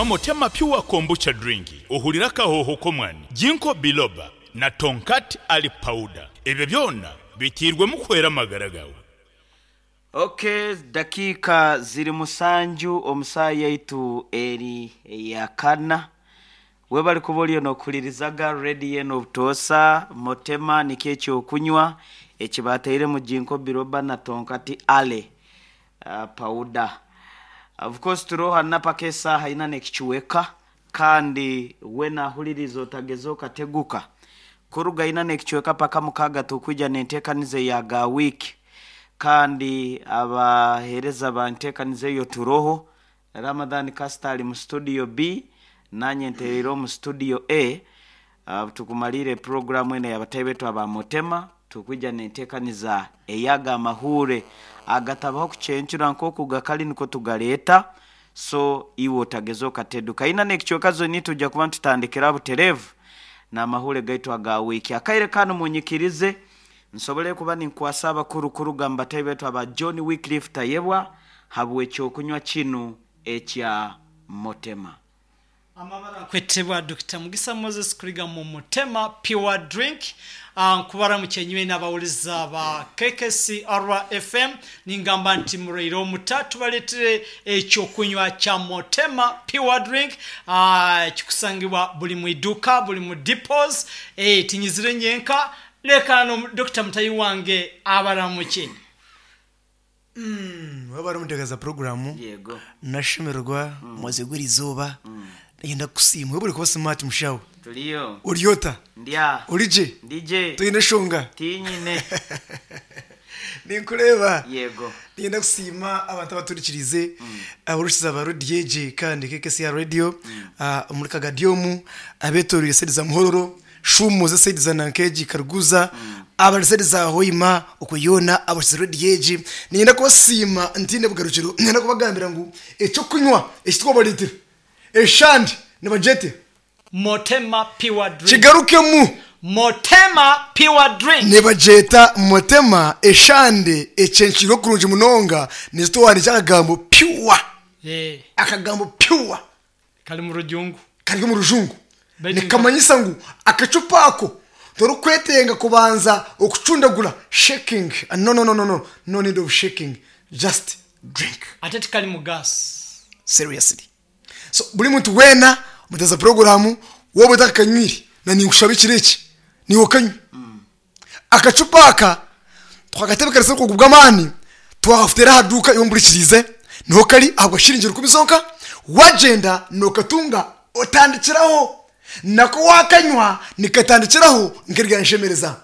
Nywa Motema Pure Kombucha Drink ohurire akahooho k'omwani, Ginkgo Biloba na Tongkat Ali Powder. Ebyo byona biteirwemu kuhwera amagara gaawe. Ok, dakiika ziri musanju omu saaha yaitu eri eya kana. Webale kuba oriyo nokuhuririzaga radio enu obutoosa. Motema nikyo ekyokunywa eki batairemu Ginkgo Biloba na Tongkat Ali Powder. Of course turiho hanu paka esaaha ina n'ekicweka kandi weena ahuririza otageza okateguka. Kuruga ina n'ekicweka paka mukaaga tukwija n'enteekaniza eya ga wiiki kandi abaheereza ba nteekaniza eyo turoho, Ramadhan Kasita ari mu studio B nanye ntereire omu studio A. Tukumariire puroguramu enu ey'abataahi baitu aba Motema, tukwija n'enteekaniza ey'aga amahuure agatabaho kucencura nk'oku gakari nikwo tugareeta, so iwe otageza okateduka. Ina n'ekicweka zoni nitwija kuba nitutandikira butereevu n'amahuure gaitu aga wiiki. Akaire kanu munyikirize nsobole kuba ninkwasa abakuru kuruga mu bataahi baitu aba John Wycliffe Tayebwa habw'ekyokunywa kinu ekya Motema. Amabara nkwetebwa Dokita Mugisa Moses kuriga mu Mutema Pure Drink. Nkubaramukye nywena abawuriza ba KKCR FM. Ningamba nti muraire omuta tubaretire ekyokunywa kya Mutema Pure Drink ekikusangibwa buri mu iduuka, buri mu depots. Tinyizire nyenka, reka no Dokita mutahi wange abaramukye. Waaba ori omuteekaza puroguraamu, Yego. nashemererwa omwezi gw'erizooba, niinyenda kukusiima. Webare kuba simaati mushaho. Turiyo. Ori ota? Ndi aha. Ori gye? Ndi gye. Toine nshonga? Tiinyine. Ninkureeba. Yego. Niinyenda kusiima abantu abaturikiriize, abarikuhurikiza ba rediyo egi kandi KKCR Radio, omuri Kagadyomu, abeetoreire sayidi za Muhororo, Shuumuuza esayidi za Nankeegi, Karuguza, abari sayidi za Hoima, okwo yoona abahurikize rediyo egi. Niinyenda kubasiima ntaine bugarukiro. Niinyenda kubagambira ngu eky'okunywa eki twabareetera, eshande nibagyete. Motema Pure Drink. Kigarukemu. Motema Pure Drink. Nibagyeta Motema eshande ekyenkirwe kurungi munonga nizo twahandiikire akagambo pure. Akagambo pure. Kari mu rujungu. Kari omu rujungu. Nikamanyisa ngu akacupa ako torikwetenga kubanza okucundagura, shaking, no no no no no, no need of shaking, just drink. Ate tikarimu gas. Seriously. So buri muntu weena omuteza puroguramu waaba otakakanywire na ninkushaba ekiro eki niiwe okanywe. Akacupa aka twakatebekanisa obukugu bw'amaani twakakuteera aha duuka iwe ompurikiriize niho kari ahabwa shiringi rukumi zonka wagyenda nokatunga otandikiraho nako wakanywa nikatandikiraho nk'eryanshemereza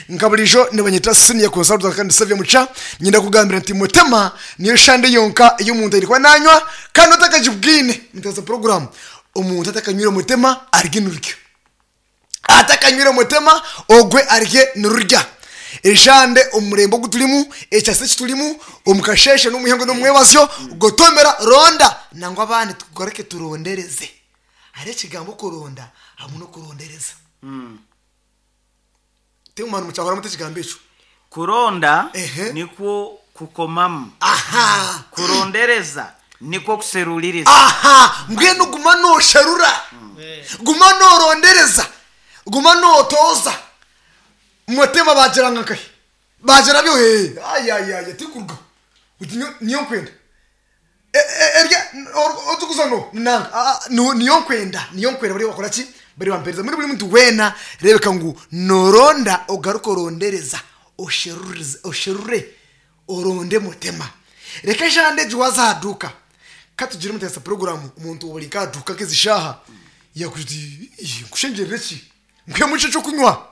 nka buriijo nibanyeta senior consultant kandi Saviour Mucha nyenda kugambira nti Mutema niyo shande yonka ei omuntu aine kuba nanywa kandi otakagibwine nteeza puroguramu omuntu atakanywire Mutema arye nirurya. Atakanywire mutema, ogwe arye nirurya. Eshande omu murembe ogu turimu, ekyasa eki turimu, omu kasheeshe n'omu ihangwe n'omu mwebazyo, gotomera, ronda, nangwa abandi tugaruke turondereze. Hariho ekigambo okuronda hamwe n'okurondereza. Timumanya mukyahuramu muta ekigambo ekyo? Kuronda Ehe. nikwo kukomamu. Aha. Kurondereza nikwo kuseruririza. Aha. Mbwenu guma noosherura, guma noorondereza, guma nootooza. Mutema baagira ngu nkahi? Baagira byo hee, ayayaya tikurugaho. Oti nyo niyo nkwenda. Erya orikuza no nanka aa niyo nkwenda, niyo nkwenda bariyo bakora ki? Bariyo bampereza. Mbwenu buri muntu weena reebeka ngu nooronda ogaruke orondereza, osherurize osherure oronde mutema. Reka eshande egi waaza aha duuka, ka tugire omuteesa puroguraamu omuntu ori nk'aha duuka nk'ezi shaaha yaakugira oti ii nkushengyerere ki? Nkuhemu ki eky'okunywa?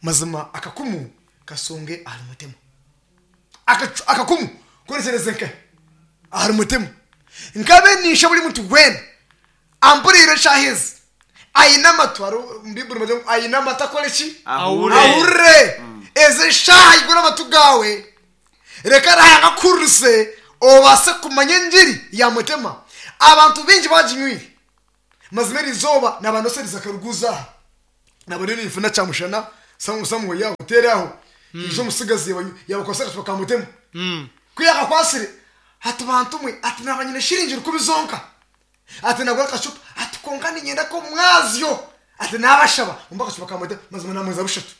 Mazima akakumu kasonge ahari mutema. Akakumu korekyereze nkahi? Ahari mutema. Nkabe ninsha buri muntu weena ampuriire eshaaha ezi aine amatu, hariho omu Baiburi nibagira ngu aine amatu akore ki? Ahurire. Ahurire. Ezi eshaaha igura amatu gaawe, reka Ruhanga akuhuririse obaase kumanya engiri ya mutema. Abantu baingi baginywire. Mazima eri izooba naaba noserize akaruguuzo aha, naaba ndiyo ninfuna kyamushana somewhere aho hoteeri aho, haija omutsigazi yaabakwasire akacupa ka mutema. Ku yaakakwasire, ati bantu mwe, ati naaba nyine shiringi rukumi zonka. Ati nagura akacupa ati kwonka niinyenda k'omwazyo ati naabashaba mumpe akacupa ka mwete mazima naamuheereza bushatu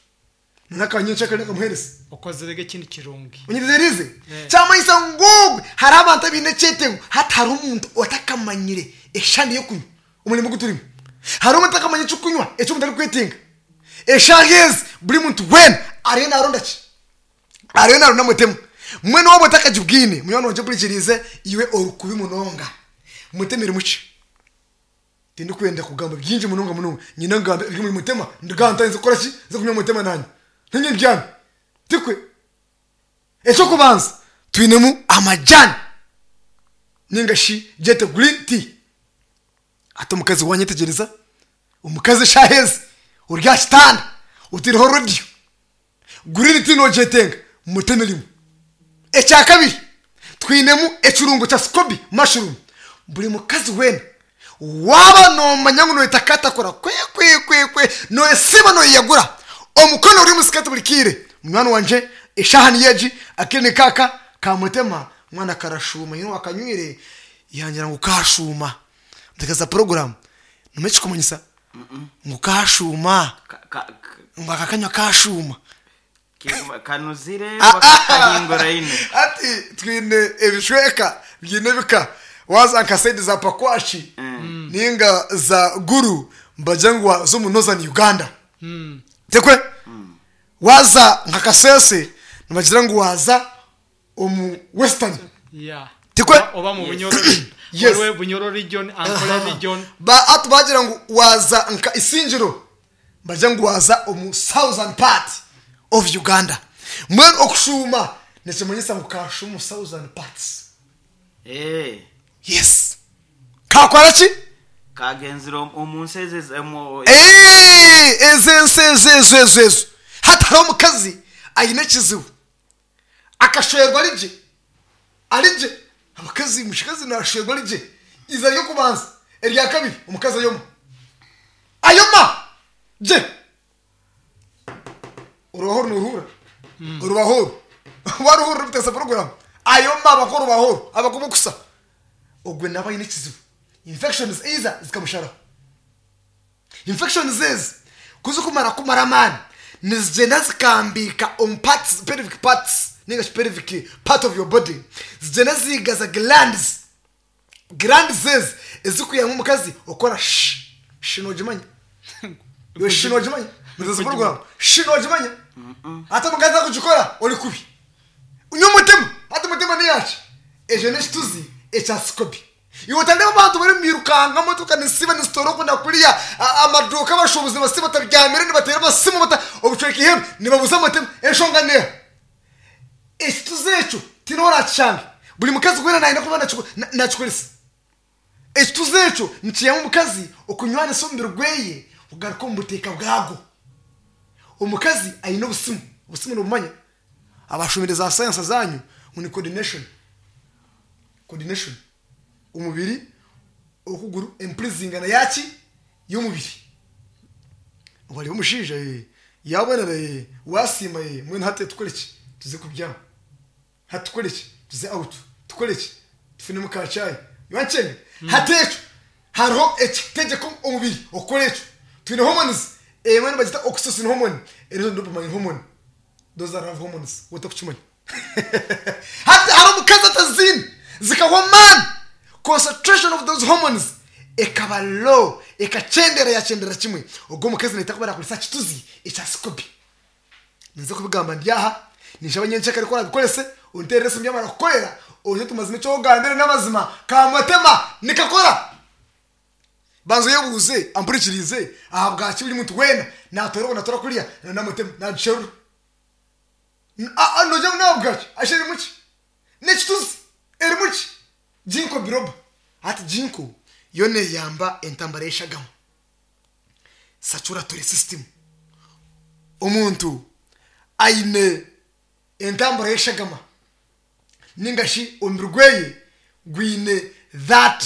n'aka nyencakare nakamuheereza. Okozire ge ekindi kirungi. Onyetegyerize? Kyamanyisa ngu ogwe hariho abantu abaine ekyetengo hati hariho omuntu otakamanyire eshande y'okunywa omurimo ogu turimu. Hariho omuntu otakamanya eky'okunywa eki omuntu arikwetenga. Eshaaha ezi buri muntu weena ariyo naaronda ki? Ariyo naaronda mutemu. Mbwenu waaba otakagibwine, munywani wangye ompurikiriize, iwe ori kubi munonga. Mutemu erimu ki? Tindikwenda kugamba bingi munonga munonga. Nyine ngambe ebiri omuri mutema, ndigaha ntandise kukora ki? Nze kunywa mutema nanye. Nanye mbyame. Tikwe? Eky'okubanza, twinemu amajani ninga shi gyete green tea. Hati omukazi wanyetegyereza, omukazi eshaaha ezi ori aha kitanda otaireho rediyo, Green tea nogyetenga muteme rimwe. Ekyakabiri twinemu ekirungo kya scoby mushroom. Buri mukazi weena waaba nomanya ngu noyeta katakura kwekwekwe noyesiiba noyeyagura omukono guri omu sikati buri kaire munywani wangye eshaaha niyo egi akaire nikaaka kamutema mwana karashuuma nyowe owakanywire yangira ngu kashuuma nteekaza puroguramu nomanya ekikumanyisa ngu kashuuma. Ngu aka kanywa kashuuma. Kanuzire oba kahinguraine? Hati twine ebicweka biine ebika. Waaza nka sayidi za Pakwaki ninga za Gulu nibagira ngu waaza omu Northern Uganda. Tikwe? Waaza nka Kasese nibagira ngu waaza omu Western. Yeah. Tikwe? Oba, oba mu Bunyoro, Yes. waliwo Bunyoro region, Ankole region. Ba hati bagira ngu waaza nka Isingiro nibagira ngu waaza omu southern part of Uganda. Mbwenu okushuuma nikimanyisa ngu kashuuma omu southern parts. Eh, Yes. Kakora ki? Kagenzire omu nsi ezo Eh, ezo ensi ezo ezo ezo ezo. Hati hariho omukazi aine ekizibu. Akashwerwa ari gye, ari gye, abakazi omukazi nashwerwa ari gye, eizooba ry'okubanza, erya kabiri omukazi ayoma, ayoma gye, orubaho oru noruhurira, orubaho oru waruhurira orikuteesa puroguramu, ayoma abako orubaho oru abako obukusa, ogwe naaba aine ekizibu, infections either zikamusharaho. Infections ezi ku zirikumara kumara amaani nizigyenda zikambiika omu parts, pelvic parts ninga shi pelvic part of your body zigyenda ziigaza glands. Glands ezi ezirikwihamu omukazi okukora shi. Shi noogimanya? Iwe shi noogimanya? Muteezi puroguramu. Shi noogimanya? Hati omukazi akugikora ori kubi. Nywa omutima. Hati omutima neyaki? Ekyo n'ekituzi ekya sikobi. Iwe otareeba abantu bari omu birukanga motoka nizisiiba nizitoora oku na kuriya, amaduuka abashuubuzi nibasiiba batabyamire nibateera amasimu obucweka eihembe nibabuza amatema. Enshonga neeha? Ekituzi ekyo tihaine ou oraakishange. Buri mukazi weena naayenda kuba naakikoresa. Ekituzi ekyo nikiyamba omukazi okunywanisa omubiri gweye kugaruka omu buteeka bwagwo. Omukazi aine obusimu, obusimu nobumanya? Abashomire za sayansa zanyu ngu ni coordination. Coordination. Omubiri, okuguru, empurizingana yaki? Y'omubiri. Wareeba omushaija ee, yabonera ee, wasiima ee, mbwenu hati tukore ki? Tuze kubyama. Hati tukore ki? Tuze out. Tukore ki? Tufunemu ka chai. Wankyenga? Hati ekyo hariho ekitegyeka omubiri okukora ekyo. Twine hormones, emwe nibagyeta oxytocin hormone, endiijo ni dopamine hormone. Those are love hormones, waaba otarikukimanya. Hati hariho omukazi ataziine, zikahwa amaani, concentration of those hormones ekaba low, ekakyendera yakyendera kimwe. Ogwo omukazi naija kuba naakoresa kituzi ekya sikobi. Ninza kubigamba ndi aha, ninshaba nyencakare ku orabikorese, onteerere esimu yamara kukorera, oze tumazima eki ogambire n'amazima, kamutema nikakora. Banza oyebuuze ampurikiriize ahabwaki buri muntu weena naatoora ogu naatoora kuriya na namutema naagisherura. Noogira ngu n'ahabwaki? Asha erimu ki? N'ekituzi erimu ki? Ginkgo biloba. Hati ginkgo yo neeyamba entambara y'eshagama. Circulatory system. Omuntu aine entambura y'eshagama ninga shi omubiri gweye gwine that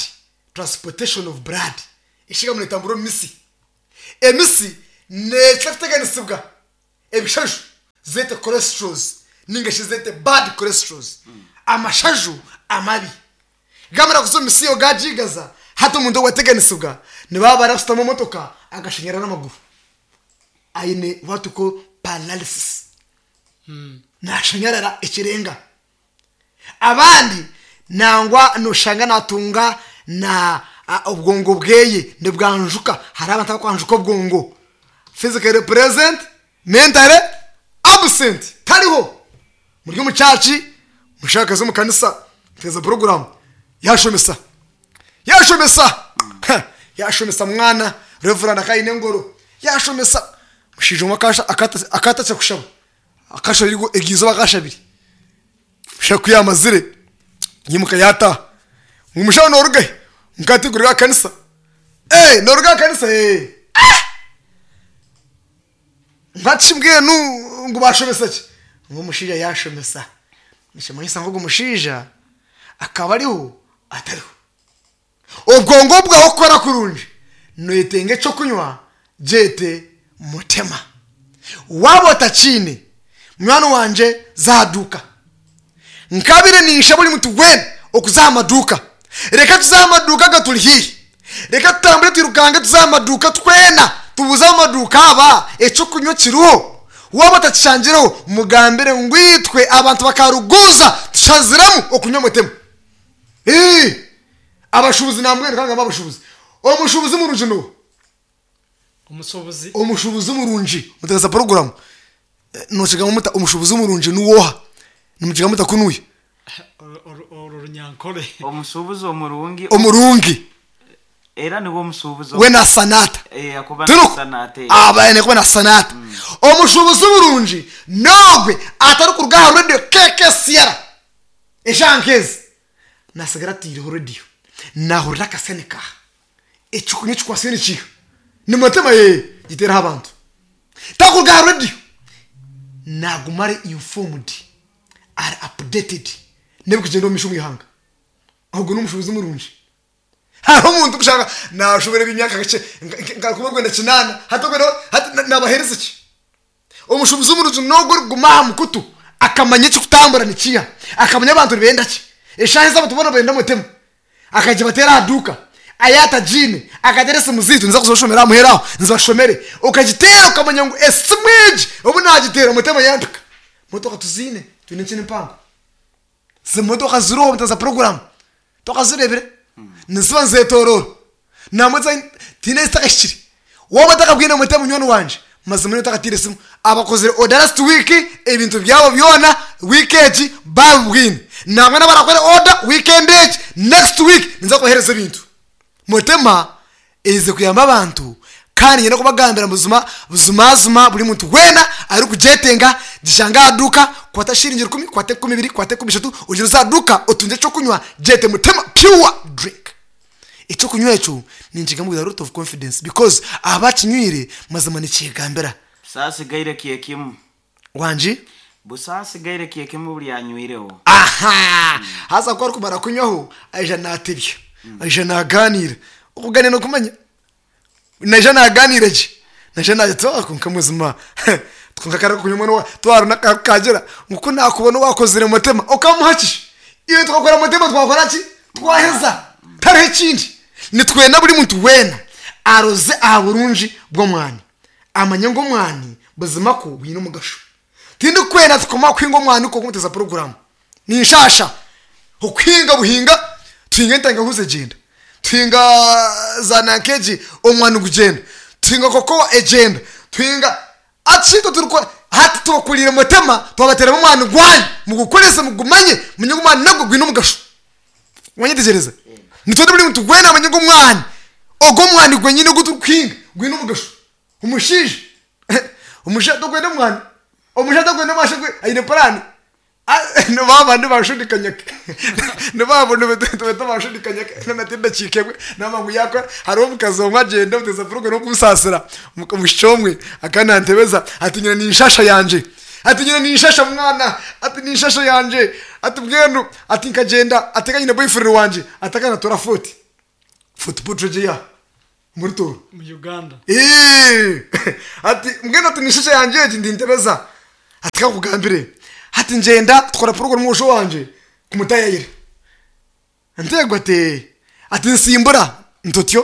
transportation of blood. Eshagama netambura omu mitsi. Emitsi nekira kuteganisibwa ebishaju zete cholesterols ninga shi zete bad cholesterols, amashaju amabi. Gamara kuza omu mitsi eyo gagigaza. Hati omuntu ogu ateganisibwa nibaba barakushutama omu motoka akashanyara n'amaguru. Aine what we call paralysis. Nashanyarara ekirenga. Abandi nangwa noshanga natunga na obwongo bweye nibwanjuka. Hariho abantu abakwanjuka obwongo. Physically present, mentally absent. Tariho. Muri omu church, mushakazi omu kanisa, muteeza program, yashomesa. Yashomesa. Yashomesa mwana, reverend akaba aine engoro. Yashomesa. Omushaija omwe akatasya kushaba. Akashaba eryo izooba akashabire. Omushaija ku yaamazire, yaimuka yaataaha. Ngu mushaho nooruga hi? Nka tinkuruga aha kanisa. Ee nooruga aha kanisa? Ee. Ah! Nka ki mbwenu ngu baashomesa ki? Ngu omushaija yaashomesa. Nikimanyisa ngu ogu mushaija akaba ariho atariho. Obwongo bwawe kukora kurungi, noyetenga eky'okunywa gyete mutema. Waaba otakiine, munywani wangye za aha duuka. Nkabaire ninshaba buri muntu weena okuza aha maduuka. Reka tuze aha maduuka agaturi haihi. Reka tutambure twirukange tuze aha maduuka twena tubuuze ab'amaduuka aba eky'okunywa kiriho. Waaba otakishangireho, mugambire ngu itwe abantu bakaruguuza tushaziremu okunywa mutema. Ii, Abashuubuzi nambwenu ka ngambe abashuubuzi. Omushuubuzi murungi n'oha? Omushuubuzi. Omushuubuzi murungi, muteereza puroguraamu, nookigamba muta omushuubuzi murungi niwe oha? Nimukigamba muta kunuya? Orwo runyankore. Omushuubuzi omurungi. Omurungi. Era niwe omushuubuzi. We nashushana ata? Eh, akuba Turi nashushana ata? eh. aba aine kuba nashushana ata? Omushuubuzi murungi n'ogwe atarikuruga aha rediyo KKCR eshaaha nk'ezi nasigara ataireho rediyo naahurira akasente kaaha ekikunywa ekikwatsire nikiiha nimutima yee giteereho abantu takuruga aha rediyo naaguma ari informed ari updated n'ebirikugyenda omu maisho omu ihanga ogwo n'omushuubuzi murungi. Hariho omuntu kushanga nashobera eby'emyaka kakye nka rukumi rwenda kinaana hati obwe hati nabahereza ki? Omushubuzi omurungi n'ogwo orikuguma aha mukutu akamanya ekirikutambura nikiiha, akamanya abantu nibenda ki, eshaaha ezi abantu boona nibenda mutema, akaija abateera aha duuka, yaaba atagiine akateera esimu zaitu niza kuzibashomera aha muheru aho nzibashomere, okagiteera okamanya ngu esimu egi obu naagiteera mutema yampika. Motoka tuziine, twine enkina empango. Zimotoka ziriho za puroguramu tokazireebire? Niziba nizeetooroora. Nangwa tihaine ezitakahikire. Waaba otakabwine muti munywani wangye, mazima nyowe otakataire simu. Abakozire oda last week ebintu byabo byona wiiki egi baabibwine. Nangwa n'abarakore oda weekend egi, next week ninza kubaheereza ebintu. Mutima eize kuyamba abantu kandi niinyenda kubagambira buzima buzimazima buri muntu weena arikugyetenga gishange aha duuka kwata shiringi rukumi kwata enkumi ibiri kwata enkumi ishatu ogyende oze aha duuka otungye ekyokunywa gyete Mutima pure drink. Ekyokunywa ekyo ninkigamba with a lot of confidence because abakinywire mazima nikyegambira. Busaasigaire kyekimwe. Wangi? Busaasigaire kyekimwe buri anywireho. Aha! Haza ku arikumara kunywaho, aija naatebya, aija naagaaniira. Okugaaniira nookumanya? Naija naagaaniira gye, naija naagira ati ah kwonka buzima kwonka kare kunywa mbwenu twarora n'akabi kaagira ngu ku naakubona owaakozire mutima okamuha ki? Iwe twakora mutima twakora ki? Twaheza. Tihariho ekindi. Nitwenda buri muntu weena aroze aha burungi bw'omwani. Amanye ngu omwani buzima kwo gwine omugasho. Tindikwenda tukoma kuhinga omwani kwonka omuteza puroguramu. Ninshaasha okuhinga buhinga tuhinga entangahuzi egyenda, tuhinga za nanka egi omwani gugyenda, tuhinga kokowa egyenda, tuhinga hati itwe turikukora hati tubakuriire mutema twabateeramu omwani gwanyu mugukorese mugumanye mumanye ngu omwani nagwo gwine omugasho. Wanyetegyereza? Nitwenda buri muntu weena amanye ngu omwani ogwo omwani gwenyini ogu turikuhinga gwine omugasho. Omushaija omushaija tokwenda omwani omushaija takwenda omwani aine puraani nibabandi bashudikanyake nibabo nibeta bashudikanyake nati edakiika emwe naba ngu yakora hariho omukazi omwe agyenda omuteeza puroguramu okunsaasira omwishiki omwe akaba nantebeza ati nyine ninshasha yangye ati nyine ninshasha mwana ati ninshasha yangye ati mbwenu ati nkagyenda ati ka nyine boyfriend wangye ati akanatora foti foti potregy ya Omuri Tooro. Mu Uganda. Eeh! Ati mbwenu ati nishusha yangye egi ndintebeza. Ati kankugambire, hati ngyenda tukora puroguramu omwojo wangye kumutayayira. Nteegwa ati ee. Ati nsimbura. Ntutyo,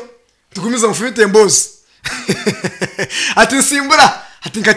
tugumize nfumite emboozi. Ati nsimbura, ati nkati.